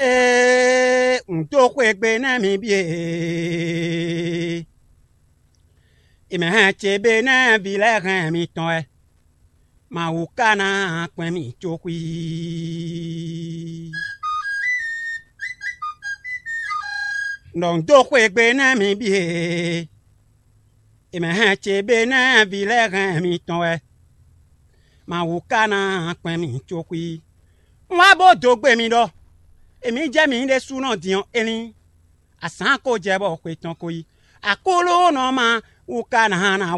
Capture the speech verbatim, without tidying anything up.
Ee, un dó xwé gbe nɛ́ mi bíe. È mɛ hɛn ce be nɛ́ vǐ lɛ́ɛ hɛn mitɔn wɛ. Mawu ka ná kpɛn mì có xwí. Nɔ un dó xwé gbe nɛ́ mi bíe. È mɛ hɛn ce be nɛ́ vǐ lɛ́ɛ hɛn mitɔn wɛ. Mawu ka ná kpɛn mì có xwí. Un wá bó dó gbe mi ɖɔ èmi jɛ mǐ ɖésúnɔ din ɔ́, é lín. Azǎn ko jɛ bɔ xwe tɔn ko yi. Aklúnɔ ma wú ka ná ná